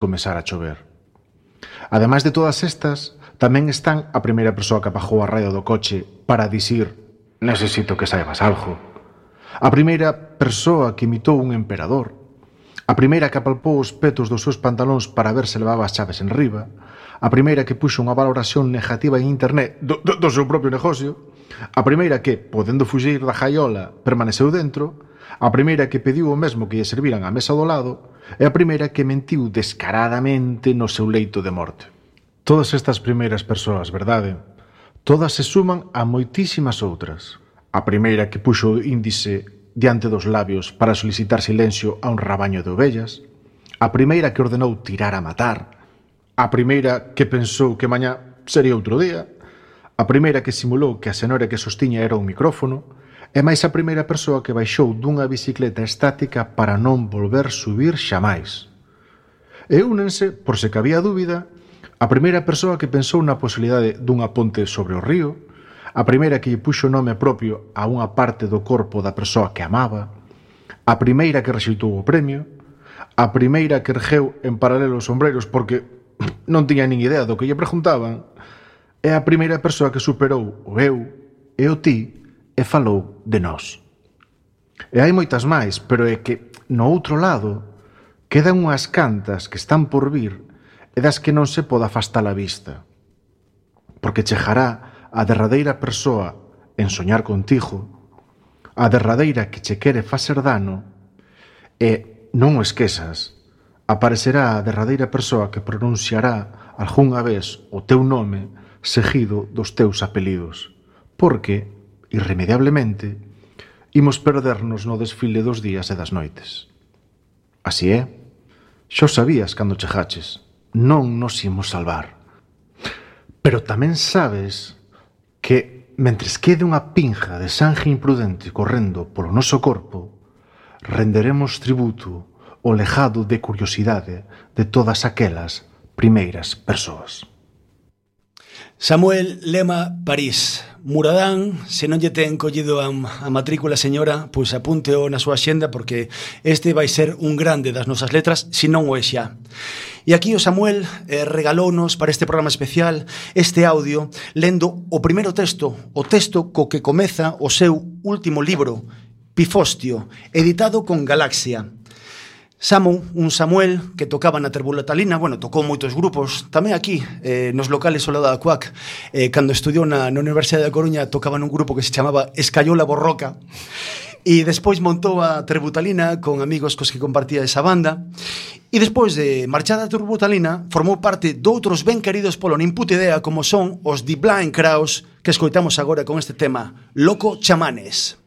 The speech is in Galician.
comezar a chover. Ademais de todas estas, tamén están a primeira persoa que apagou a radio do coche para dicir necesito que saibas algo, a primeira persoa que imitou un emperador, a primeira que apalpou os petos dos seus pantalóns para ver se levaba as chaves en riba, a primeira que puxo unha valoración negativa en internet do seu propio negocio, a primeira que, podendo fuxir da jaiola, permaneceu dentro, a primeira que pediu o mesmo que lle serviran á mesa do lado e a primeira que mentiu descaradamente no seu leito de morte. Todas estas primeiras persoas, verdade? Todas se suman a moitísimas outras. A primeira que puxo o índice diante dos labios para solicitar silencio a un rabaño de ovellas, a primeira que ordenou tirar a matar, a primeira que pensou que mañá sería outro día, a primeira que simulou que a cenoura que sostiña era un micrófono, e máis a primeira persoa que baixou dunha bicicleta estática para non volver subir xamais. E únense, por se cabía dúbida, a primeira persoa que pensou na posibilidade dunha ponte sobre o río, a primeira que lle puxo nome propio a unha parte do corpo da persoa que amaba, a primeira que rexeitou o premio, a primeira que ergueu en paralelo os sombreiros porque non tiña nin idea do que lle preguntaban, e a primeira persoa que superou o eu e o ti e falou de nós. E hai moitas máis, pero é que, no outro lado, quedan unhas cantas que están por vir e das que non se pode afastar a vista. Porque chegará a derradeira persoa en soñar contigo, a derradeira que che quere facer dano, e, non o esquezas, aparecerá a derradeira persoa que pronunciará algunha vez o teu nome seguido dos teus apelidos. Porque, irremediablemente, imos perdernos no desfile dos días e das noites. Así é, xo sabías cando chegaches, non nos imos salvar. Pero tamén sabes que, mentres quede unha pinja de sangue imprudente correndo polo noso corpo, renderemos tributo ao legado de curiosidade de todas aquelas primeiras persoas. Samuel Lema París. Muradán, se non lle ten collido a matrícula, señora, pois apúnteo na súa xenda porque este vai ser un grande das nosas letras, se non o é xa. E aquí o Samuel regalounos para este programa especial este audio lendo o primeiro texto, o texto co que comeza o seu último libro, Pifostio, editado con Galaxia. Samu, un Samuel que tocaba na Terbuletalina, bueno, tocou moitos grupos, tamén aquí, nos locales ao lado da CUAC, cando estudiou na Universidade da Coruña, tocaba nun grupo que se chamaba Escayola Borroca, e despois montou a Terbutalina con amigos cos que compartía esa banda, e despois de marchar da Terbutalina, formou parte doutros ben queridos polo Nin Puta Idea, como son os The Blind Crowes, que escoitamos agora con este tema, Loco Chamanes.